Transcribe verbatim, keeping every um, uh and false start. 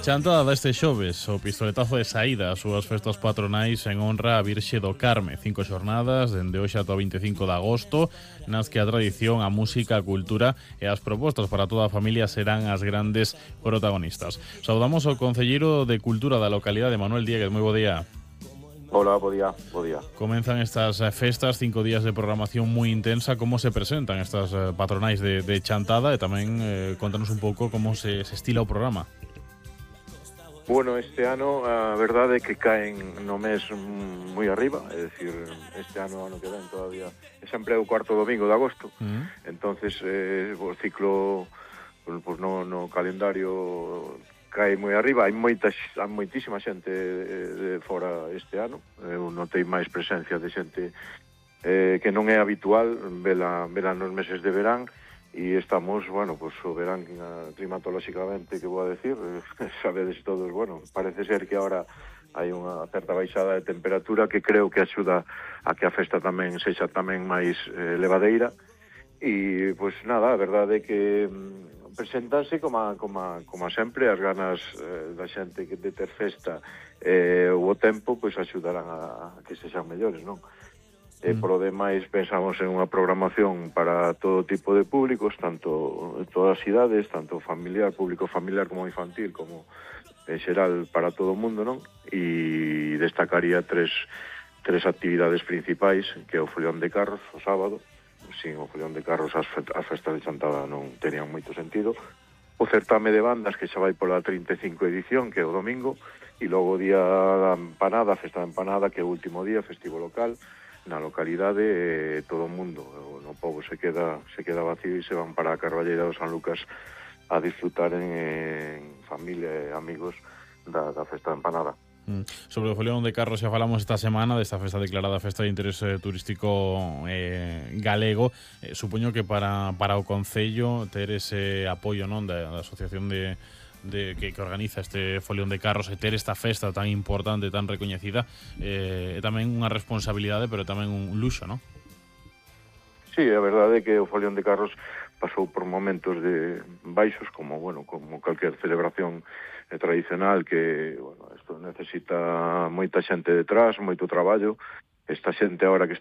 Chantada deste xoves, o pistoletazo de saída ás súas festas patronais en honra a Virxe do Carme. Cinco xornadas, dende hoxe ata o veinticinco de agosto, nas que a tradición, a música, a cultura e as propostas para toda a familia serán as grandes protagonistas. Saudamos ao concelleiro de Cultura da localidade, Manuel Dieguez. Moi bo día. Hola, bo día, bo día. Comenzan estas festas, cinco días de programación moi intensa. Como se presentan estas patronais de, de Chantada? E tamén eh, contanos un pouco como se, se estila o programa. Bueno, este ano a verdade é que caen no mes moi arriba, é dicir, este ano, ano que ven todavía, é sempre o cuarto domingo de agosto, mm. entonces eh, o ciclo pues, no, no calendario cae moi arriba, hai moita, hai moitísima xente de, de fora este ano, eu notei máis presencia de xente eh, que non é habitual vela, vela nos meses de verán, e estamos, bueno, pues o verán climatolóxicamente, que vou a decir, sabedes todos, bueno, parece ser que agora hai unha certa baixada de temperatura que creo que axuda a que a festa tamén sexa tamén máis eh, levadeira, e, pois pues, nada, a verdade é que mm, presentanse como, como, como sempre, as ganas eh, da xente que de ter festa e eh, o tempo, pois pues, axudarán a, a que sexan mellores, non? E por o demais pensamos en unha programación para todo tipo de públicos, tanto en todas as idades, tanto familiar, público familiar como infantil, como en xeral para todo o mundo, non? E destacaría tres, tres actividades principais, que é o folión de carros o sábado. Sin o folión de carros as, as festas de Chantada non terían moito sentido. O certame de bandas, que xa vai pola trinta e cinco edición, que é o domingo, e logo o día da empanada, a festa da empanada, que é o último día, festivo local, na localidade, eh, todo o mundo, no pobo se queda se queda vacío e se van para a Carballeira do San Lucas a disfrutar en, en familia e amigos da, da festa da empanada. Mm. Sobre o folión de carros xa falamos esta semana desta festa declarada festa de interés turístico eh, galego. Eh, supoño que para, para o Concello ter ese apoio, non, da, da asociación de de que, que organiza este folión de carros e ter esta festa tan importante, tan recoñecida, eh, é tamén unha responsabilidade, pero tamén un luxo, non? Sí, a verdade é que o folión de carros pasou por momentos de baixos, como, bueno, como calquer celebración eh, tradicional, que, bueno, isto necesita moita xente detrás, moito traballo. Esta xente agora que